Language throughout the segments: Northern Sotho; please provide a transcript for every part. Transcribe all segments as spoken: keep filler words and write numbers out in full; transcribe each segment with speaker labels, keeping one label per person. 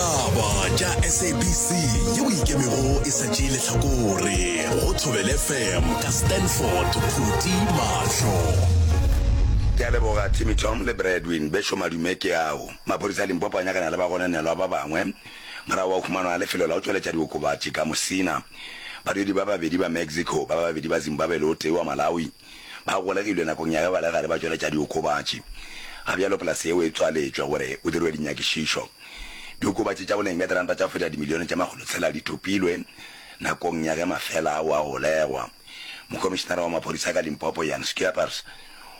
Speaker 1: Ditaba tša S A B C yeo ikemego e sa tšee lehlakore go Thobela F M ka Stanford Phuti Mahlo.
Speaker 2: Ke a leboga Timmy Tom le Bradwin bešo madume ke ao. Maphodisa a Limpopo a nyakana le bagononelwa ba bangwe morago wa go humanwa ga lefelo la go tšweletša diokobatši ka Musina. Badudi ba babedi ba Mexico, ba babedi ba Zimbabwe le o tee wa Malawi ba golegilwe nakong ya ge ba le gare ba tšweletša diokobatši. Ga bjalo polase yeo e tswaletšwe gore go dirwe dinyakišišo. Diokobatši tša boleng bja diranta tša go feta dimilione tše makgolotshela di thopilwe nakong ya ge mafela ao a golegwa. Mokomišenara wa maphodisa ka Limpopo Jan Scheepers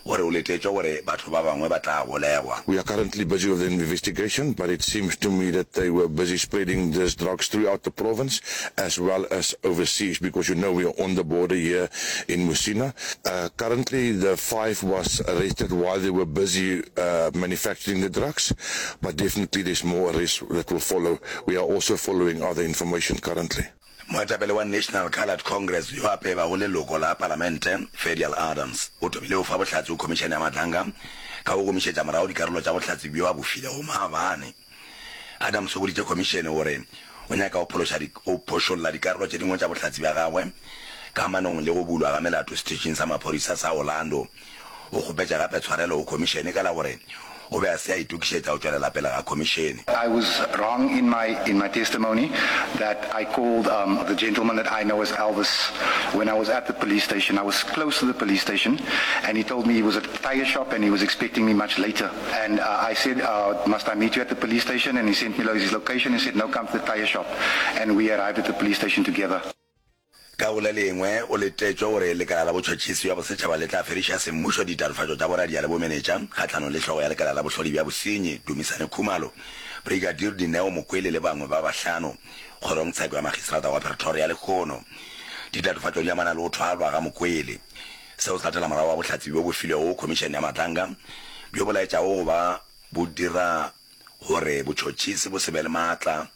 Speaker 2: o re o letetšwe gore batho ba bangwe ba tla golegwa.
Speaker 3: We are currently busy with the investigation, but it seems to me that they were busy spreading these drugs throughout the province as well as overseas, because you know we are on the border here in Musina. Uh, currently, the five was arrested while they were busy uh, manufacturing the drugs, but definitely there's more arrests that will follow. We are also following other information currently.
Speaker 2: Moetapele wa National Coloured Congress yo a pebago leloko la Palamente, Ferdial Adams, o thomile go fa bohlatse go Khomišene ya Madlanga ka go gomišetša morago dikarolo tša bohlatse bjo a bo filego maabane. Adams o boditše khomišene gore o nyaka go phološa go phošolla dikarolo tše dingwe tša bohlatse bja gagwe kamanong le go bulwa ga melato seteišeng sa maphodisa sa Orlando. O kgopetše gape tshwarelo go khomišene ka la gore o be a se a itokišetša go tšwelela pele ga khomišene.
Speaker 4: I was wrong in my in my testimony that I called um, the gentleman that I know as Elvis when I was at the police station. I was close to the police station, and he told me he was at the tire shop and he was expecting me much later. And uh, I said, uh, "Must I meet you at the police station?" And he sent me his location. He said, "No, come to the tire shop." And we arrived at the police station together.
Speaker 2: Ka go le lengwe, o letetšwe gore lekala la botšhotšhisi bja bosetšhaba le tla fediša semmušo ditatofatšo tša boradia le bomenetša kgahlanong le hlogo ya lekala la bohlodi bja bosenyi Dumisani Khumalo, Brigadier Dineo Mokwele le bangwe ba bahlano kgorongtsheko ya magistrata wa Pretoria lehono. Ditatofatšo di amana le go thwalwa ga Mokwele. Seo se latela morago ga bohlatse bjo bo filwego go Khomišene ya Madlanga bjo bo laetšago go ba bo dira gore botšhotšhisi bo se be le maatla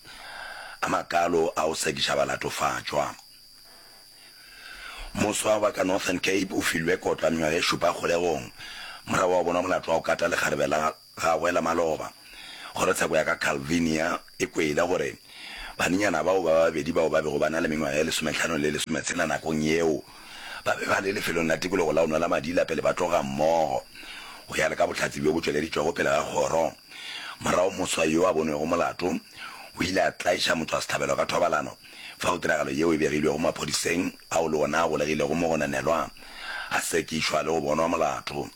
Speaker 2: a makalo a go sekiša balatofatšwa. Moswa wa ka Northern Cape o filwe kotlo ya mengwaga e šupa kgolegong morago wa go bonwa molato wa go kata lekgarebe la gagwe la maloba. Kgorotsheko ya ka Calvinia e kwele gore banenyana bao ba babedi bao ba bego ba na le mengwaga e lesomehlano le lesometshela nakong yeo ba be ba le lefelong la tikologo la go nwela madila pele ba tloga mmogo go ya le ka bohlatse bjo bo tšweleditšwego pele ga kgoro. Morago moswa yo a bonwego molato o ile a tlaiša motšwasehlabelo ka thobalano fao tiragalo yeo e begilwego maphodiseng ao le ona a golegilego mogononelwa a sekišwa le go bonwa molato.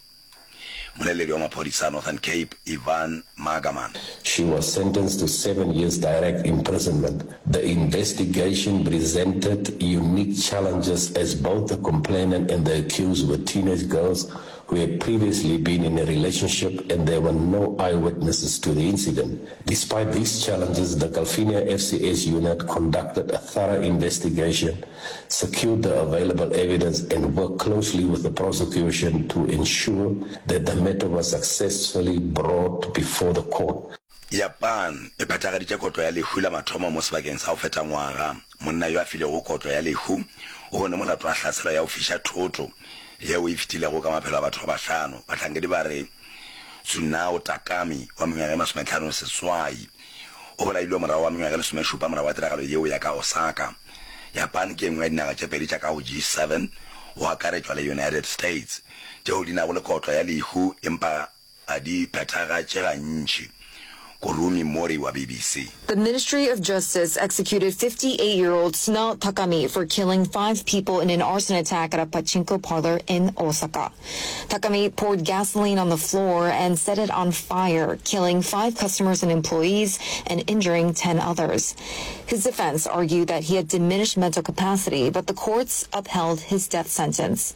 Speaker 2: Mmoleledi wa maphodisa a Northern Cape Ivan Margerman.
Speaker 5: She was sentenced to seven years direct imprisonment. The investigation presented unique challenges as both the complainant and the accused were teenage girls who had previously been in a relationship and there were no eyewitnesses to the incident. Despite these challenges, the Calvinia F C S unit conducted a thorough investigation, secured the available evidence and worked closely with the prosecution to ensure that the matter was successfully brought before the court.
Speaker 2: Japan e phethagaditše kotlo ya lehu la mathomo mo sebakeng sa go feta ngwaga. Monna yo a filwego kotlo ya lehu o bone molato wa hlaselo ya go fiša thoto yeo e fetilego ka maphelo a batho ba bahlano. Bahlankedi ba re Tsunao Takami wa mengwaga e masometlhano seswai o bolailwe morago ga mengwaga e lesomešupa morago ga tiragalo yeo ya ka Osaka. Japan ke e nngwe ya dinaga tše pedi tša ka go G seven go akaretšwa le United States tšeo di nago le kotlo ya lehu empa ga di phethagatše gantši. Kurumi Mori wa B B C.
Speaker 6: The Ministry of Justice executed fifty-eight-year-old Sunao Takami for killing five people in an arson attack at a pachinko parlor in Osaka. Takami poured gasoline on the floor and set it on fire, killing five customers and employees and injuring ten others. His defense argued that he had diminished mental capacity, but the courts upheld his death sentence.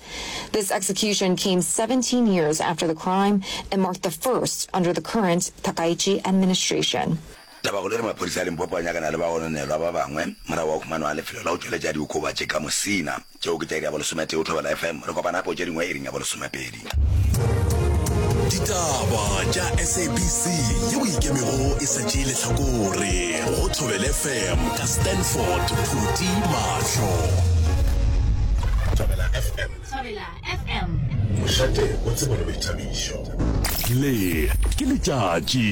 Speaker 6: This execution came seventeen years after the crime and marked the first under the current Takaichi administration.
Speaker 2: Tabakgolo e re maphodisa a Limpopo a nyakana le bagononelwa ba bangwe morago ga go humanwa ga lefelo la go tšweletša diokobatši ka Musina. Tšeo ke tša iri ya bolesometee go Thobela F M. Re kopana gape go tše dingwe iring ya bolesomepedi.
Speaker 1: Ditaba tša S A B C yeo ikemego e sa tšee lehlakore go Thobela F M ka Stanford Phuti Mahlo.
Speaker 2: Thobela.
Speaker 1: F M.
Speaker 7: Thobela F M.
Speaker 1: Mošate wa tsebo le boithabišo. Le ke letšatši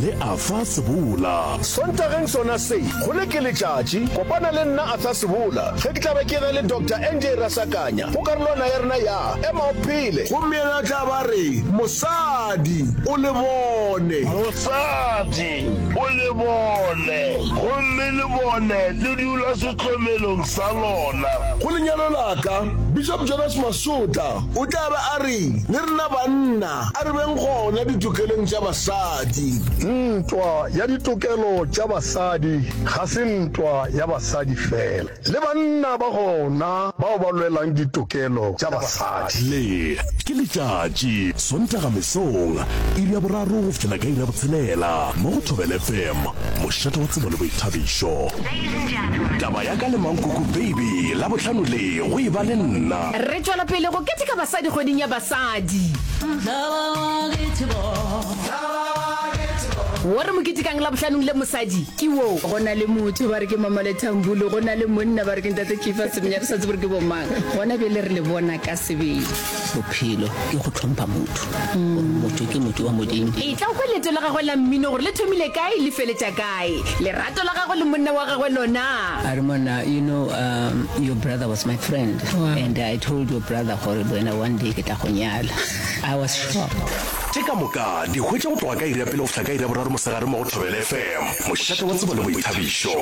Speaker 1: le Arthur Sebola.
Speaker 8: Sontageng sona se, go le ke letšatši, kopana le nna Arthur Sebola ge ke tla be ke na le Doctor N J Rasakanya go karolwana ya rena ya Ema o Phele. Gomme yena tla ba re, Mosadi o le bone.
Speaker 9: Mosadi o le bone, gomme le bone le dula sehlomelong sa lona.
Speaker 8: Go lenyalo la ka, Bishop Jonas Masotla o tla be a re, le rena banna a re beng gona ditokelong tša basadi.
Speaker 10: Ntwa ya ditokelo tša basadi ga se ntwa ya basadi fela, le banna ba gona bao ba lwelang ditokelo tša basadi.
Speaker 1: Le ke letšatši, Sontaga mesong, iri ya boraro go fihlela ka iri ya botshelela, mo go Thobela F M, mošate wa tsebo le boithabišo. Taba ya ka le Mankoko Baby, Labohlano le go e ba le nna.
Speaker 11: Re tšwela pele go keteka basadi kgweding ya basadi. Wo re mo ketekang Labohlanong le mosadi ke wo.
Speaker 12: Go na le motho ba re ke Mama Lethambulu, go na le monna ba re ke Ntate Kefa Semenya, re sa tsebe gore ke bomang. Gona bjale re le bona ka sebele.
Speaker 13: Bophelo ke go tlhompha motho, gore motho ke motho wa Modimo.
Speaker 11: E tla kwa leeto la gagwe la mmino gore le thomile kae le feletša kae. Lerato la gagwe le monna wa gagwe lona.
Speaker 13: A re monna, you know um, your brother was my friend.
Speaker 12: Wow.
Speaker 13: And I told your brother gore wena one day ke tla go nyala. I was shocked.
Speaker 1: Tše ka moka di hwetša go tloga ka iri ya pele go fihla ka iri ya boraro mosegare mo go Thobela F M, mošate wa tsebo le boithabišo.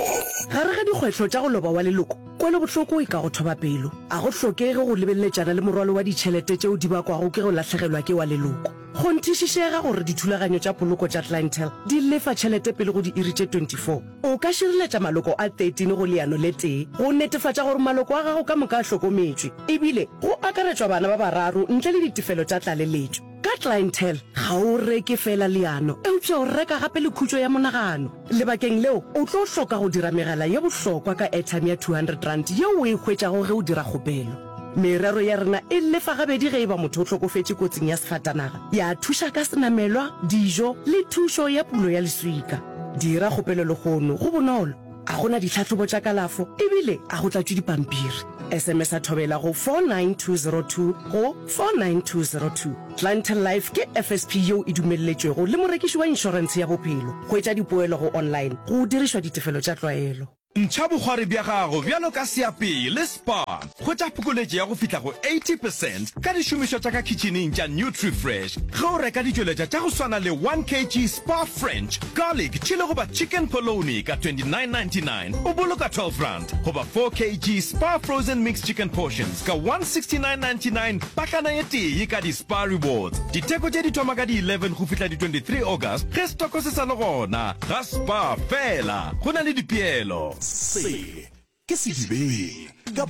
Speaker 14: Gare ga dikgwetlho tša go loba wa leloko, kwelobohloko e ka go thoba pelo. A go hlokege go lebeleletšana le morwalo wa ditšhelete tšeo di bakwago ke go lahlegelwa ke wa leloko. Kgonthišišega gore dithulaganyo tša poloko tša Clientele di lefa tšhelete pele go diiri tše twenty-four. O ka šireletša maloko a thirteen go leano le tee go netefatša gore maloko a gago ka moka a hlokometšwe, ebile go akaretšwa bana ba bararo ntle le ditefelo tša tlaleletšo. Ka Clientele ga o reke fela leano, eupša o reka gape le khutšo ya monagano. Lebakeng leo o tlo hloka go dira megala ye bohlokwa ka airtime ya two hundred rand yeo o e hwetšago ge o dira kgopelo. Merero ya rena e lefa gabedi ge e ba motho o hlokofetše kotsing ya sefatanaga, ya thuša ka senamelwa, dijo le thušo ya pulo ya leswika. Dira kgopelo lehono, go bonolo, a gona ditlhahlobo tša kalafo ebile a go tlatšwe dipampiri. S M S a Thobela go four nine two zero two go four nine two zero two. Clientele Life ke F S P yeo e dumelletšwego le morekiši wa inšorentshe ya bophelo. Hwetša dipoelo go online go dirišwa ditefelo tša tlwaelo.
Speaker 15: Ntšha bokgwari bja gago bjalo ka seapei le Spar. Hwetša phokoletšo ya go fihla go eighty percent ka dišomišwa tša ka kitcheneng tša Nutrifresh ge o reka ditšweletša tša go swana le one kilogram Spar French garlic chili goba chicken polony ka twenty-nine ninety-nine, o boloka twelve rand, goba four kilogram Spar frozen mixed chicken portions ka one sixty-nine ninety-nine pakana ye tee ka di-Spar Rewards. Ditheko tše di thoma ka di eleven go fihla di twenty-three August ge stoko se sa le gona ga Spar fela. Go na le dipeelo.
Speaker 1: Se ke Sedibeng ka